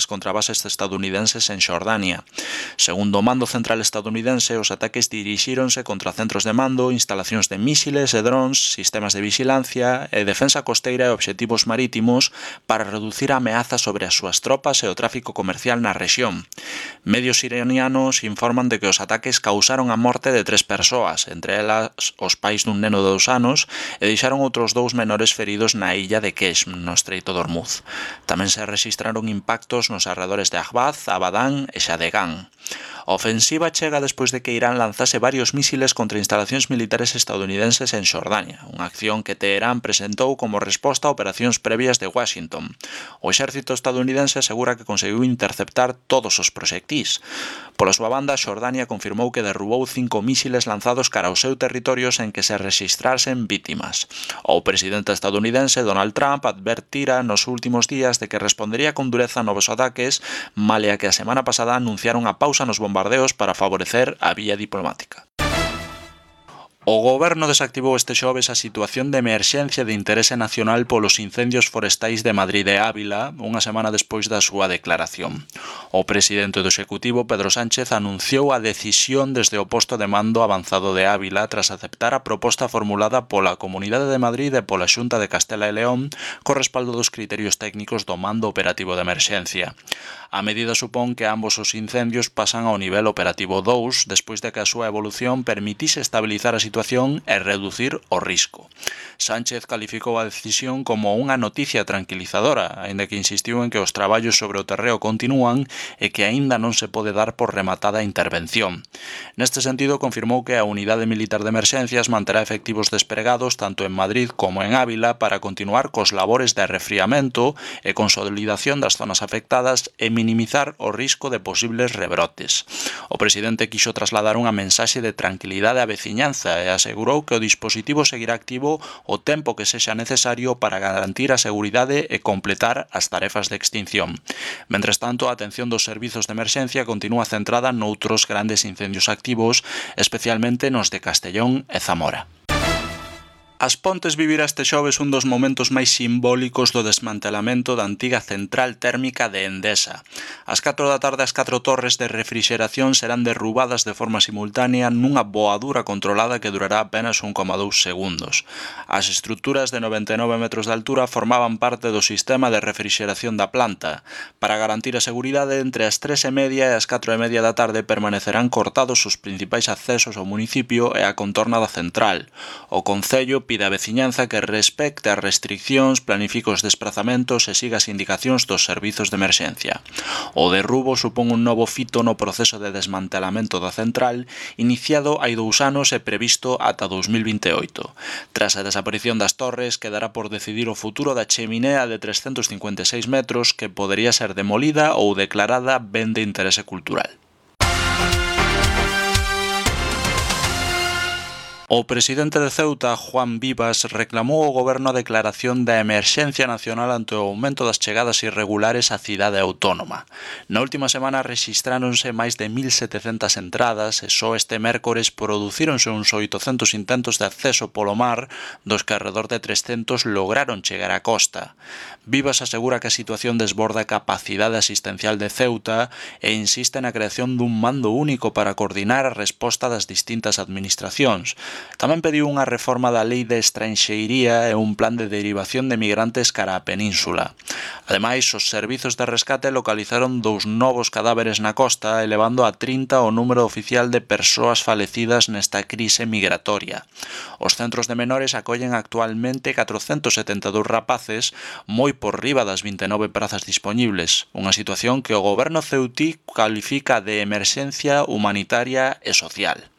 mísiles contra bases estadounidenses en Xordania. Segundo o mando central estadounidense, os ataques dirixíronse contra centros de mando, instalacións de mísiles e drons, sistemas de vixilancia e defensa costeira e obxectivos marítimos para reducir a ameaza sobre as súas tropas e o tráfico comercial na rexión. Medios iranianos informan de que os ataques causaron a morte de 3 persoas, entre elas os pais dun neno de 2 anos, e deixaron outros 2 menores feridos na illa de Keshm, no Estreito de Hormuz. Tamén se rexistraron impactos nos arredores de Ahvaz, Abadán e Xadegán. A ofensiva chega despois de que Irán lanzase varios mísiles contra instalacións militares estadounidenses en Xordania, unha acción que Teherán presentou como resposta a operacións previas de Washington. O exército estadounidense asegura que conseguiu interceptar todos os proxectís. Pola súa banda, Xordania confirmou que derrubou 5 mísiles lanzados cara ao seu territorio sen que se rexistrasen vítimas. O presidente estadounidense Donald Trump advertira nos últimos días de que respondería con dureza a novos ataques, malia que a semana pasada anunciaron a pausa nos bombardeos para favorecer a vía diplomática. O goberno desactivou este xoves a situación de emerxencia de interese nacional polos incendios forestais de Madrid e Ávila, unha semana despois da súa declaración. O presidente do Executivo, Pedro Sánchez, anunciou a decisión desde o posto de mando avanzado de Ávila tras aceptar a proposta formulada pola Comunidade de Madrid e pola Xunta de Castela e León co respaldo dos criterios técnicos do mando operativo de emerxencia. A medida supón que ambos os incendios pasan ao nivel operativo 2 despois de que a súa evolución permitise estabilizar a situación e reducir o risco. Sánchez calificou a decisión como unha noticia tranquilizadora, aínda que insistiu en que os traballos sobre o terreo continúan e que aínda non se pode dar por rematada a intervención. Neste sentido, confirmou que a Unidade Militar de Emerxencias manterá efectivos despregados tanto en Madrid como en Ávila para continuar cos labores de arrefriamento e consolidación das zonas afectadas e minimizar o risco de posibles rebrotes. O presidente quixo trasladar unha mensaxe de tranquilidade á veciñanza e asegurou que o dispositivo seguirá activo o tempo que sexa necesario para garantir a seguridade e completar as tarefas de extinción. Mentres tanto, a atención dos servizos de emerxencia continúa centrada noutros grandes incendios activos, especialmente nos de Castellón e Zamora. As Pontes vivirá este xoves un dos momentos máis simbólicos do desmantelamento da antiga central térmica de Endesa. Ás 4 da tarde, as 4 torres de refrixeración serán derrubadas de forma simultánea nunha voadura controlada que durará apenas 1,2 segundos. As estruturas de 99 metros de altura formaban parte do sistema de refrixeración da planta. Para garantir a seguridade, entre as 3:30 e as 4:30 da tarde permanecerán cortados os principais accesos ao municipio e a contorna da central. O Concello pide á veciñanza que respecte as restriccións, planifique os desprazamentos e siga as indicacións dos servizos de emerxencia. O derrubo supón un novo fito no proceso de desmantelamento da central, iniciado hai 2 anos e previsto ata 2028. Tras a desaparición das torres, quedará por decidir o futuro da cheminea de 356 metros que podería ser demolida ou declarada ben de interese cultural. O presidente de Ceuta, Juan Vivas, reclamou ao goberno a declaración da emerxencia nacional ante o aumento das chegadas irregulares á cidade autónoma. Na última semana rexistráronse máis de 1.700 entradas e só este mércores producíronse uns 800 intentos de acceso polo mar, dos que alrededor de 300 lograron chegar á costa. Vivas asegura que a situación desborda a capacidade asistencial de Ceuta e insiste na creación dun mando único para coordinar a resposta das distintas administracións. Tamén pediu unha reforma da lei de estranxeiría e un plan de derivación de migrantes cara á península. Ademais, os servizos de rescate localizaron 2 novos cadáveres na costa, elevando a 30 o número oficial de persoas falecidas nesta crise migratoria. Os centros de menores acollen actualmente 472 rapaces, moi por riba das 29 prazas dispoñibles, unha situación que o goberno ceutí califica de emerxencia humanitaria e social.